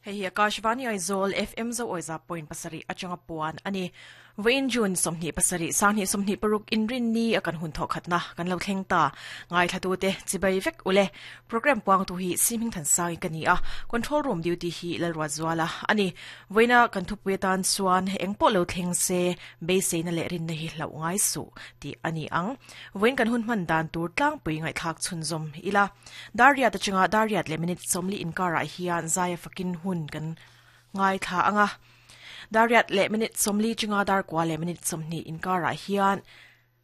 Hei hi Akashvani Aizawl FM zo awiza point pasarih atanga puan a ni. Vawiin June 27 2026 inrin ni a kan hun thawh khatna kan lo thleng ta. Ngaithlatute chibai vek ule. Program puangtu hi Simhing Thansangi ka ni a, Control Room duty hi Lalruatzuala a ni. Vawiina kan thupui atan chuan eng pawh lo thleng se beiseina leh rinna hi hlauh ngai suh tih a ni ang. Vawiin kan hun hman dan tur tlangpui ngaihthlak chhunzawm ila. Dar riat atanga dar riat leh minute 40 inkarah hian zaia fakin hun kan ngaithla ang a. Dar riat leh minute 40 chunga dar kua leh minute 20 inkarah hian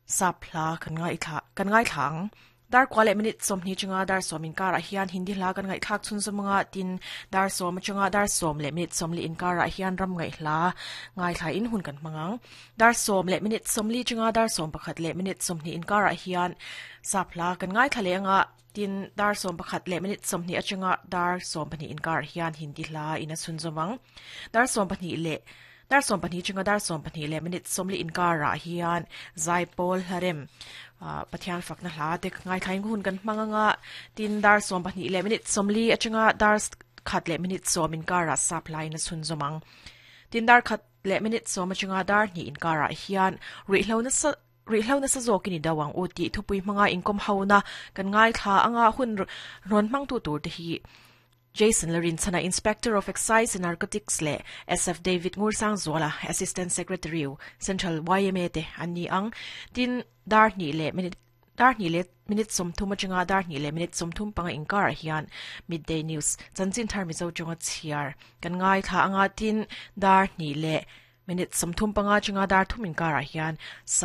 sap hla kan ngaithla kan ngaithla ang. Dar kua leh minute 20 chunga dar 10 inkarah hian Hindi hla kan ngaihthlak chhunzawm anga tin dar 10 atanga dar 10 leh minute 40 inkarah hian ram ngaih hla ngaithla in hun kan hmang ang. Dar 10 leh minute 40 chunga dar 11 leh minute 20 inkarah hian sap hla kan ngaithla leh anga tin dar 11 leh minute 20 atanga dar 12 inkarah hian Hindi hla in a chhunzawm ang. Dar 12 leh dar 12 chunga dar 12 leh minute 40 inkarah hian zaipawl hlarem Pathian fakna hla te ngaithla in hun kan hmang anga tin dar 12 leh minute 40 atanga dar khat leh minute 10 inkarah sap hla in a chhunzawm ang. Tin dar khat leh minute 10 atanga dar hnih inkarah hian ruihhlo nasa ruihhlo nasa zawkin i do ang u tih thupui hmanga inkawm hona kan ngaithla anga hun rawn hmangtu tur te hi Jason Larinchana Inspector of Excise and Narcotics leh SF David Ngursang Zuala Assistant Secretary Central YMA te an ni ang tin dar hnih leh minute dar hnih leh minute 30 atanga dar hnih leh minute 35 inkarah hian midday news chanchin thar Mizo chunga chhiar kan ngaithla anga tin dar hnih leh minute 35 chunga dar thum inkarah hian sa